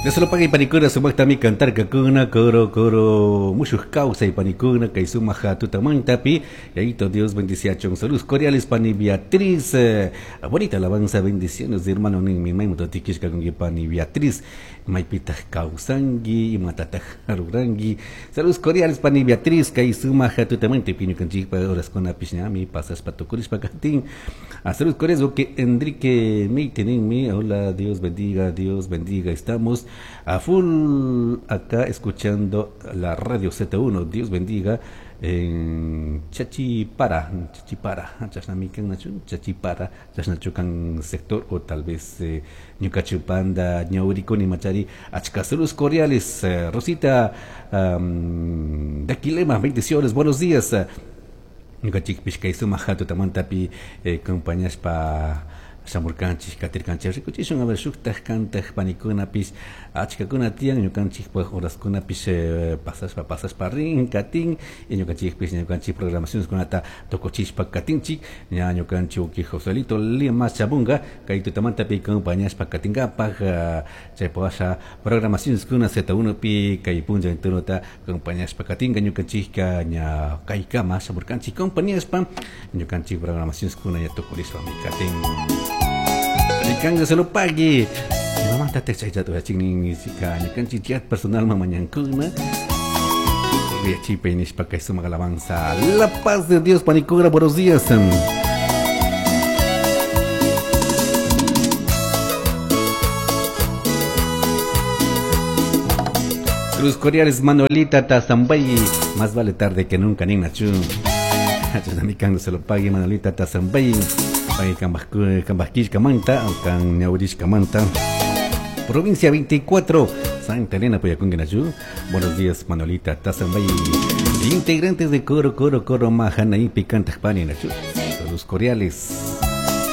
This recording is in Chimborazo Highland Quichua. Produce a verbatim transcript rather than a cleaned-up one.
Dios lo pague panikuna sumaqtami cantar kakuna coro coro mushuq kawsay panikuna kay sumaq tutamantapi yayito Dios bendiciachun. Saludos cordiales pani Beatriz, eh, bonita alabanza, bendiciones de hermano ninmi maymuta tikishka kunki pani Beatriz maypitaq kawsanki imatataq ruranki. Saludos cordiales pani Beatriz kay sumaq tutamantapi ñukanchikpa horaskunapish ñami pasaspa tukurishpa katin. Saludos cordiales que Enrique Meiteninmi, hola, Dios bendiga, Dios bendiga, estamos a full acá escuchando la radio Z uno, Dios bendiga en Chachipara, Chachipara, Chasnamican, Chachipara, Chasnachucan sector o tal vez eh, Ñucachupanda, Ñauriconi, Machari, Achcasaludos cordiales, eh, Rosita um, de Aquilema, bendiciones, buenos días. Ñukanchikpish kay sumaq tutamantapi eh, compañaspa shamurkanchik katirkanchik rikuchishun a ver shuktaj kantaj panikunapis achkakuna tiyan ñukanchikpaj horaskunapis eh, pasashpa pasashpa rin katin y ñukanchikpis ñukanchik programacioneskunata tukuchishpa katinchik ña ñukanchik uki Joselito Lima Chabunga kay tutamantapi compañaspa katinkapaj uh, chaypasha programacioneskuna Z uno pi kay punlla entonota compañaspa katinka ñukanchikka ña kaykama shamurkanchik compañaspa ñukanchik programacioneskuna ña tukurishpa mi katin. Kanga se lo pague. Mamá te chaita tu chingin sika ñukanchik chat personal mamañankuna. Chipe nishpa kay sumaq alabanza. La paz de Dios panikura, buenos días. Cruz Cordiales Manuelita Tazambay, más vale tarde que nunca ninachu. Kanga se lo pague Manuelita Tazambay. Cambasquishkamanta, Ñaurishkamanta, provincia veinticuatro, Santa Elena, Puyacunguinachu. Buenos días, Manuelita Tazambay. Integrantes de Coro, Coro, Coro, Majana y Picantajpani, Nachu. Saludos cordiales.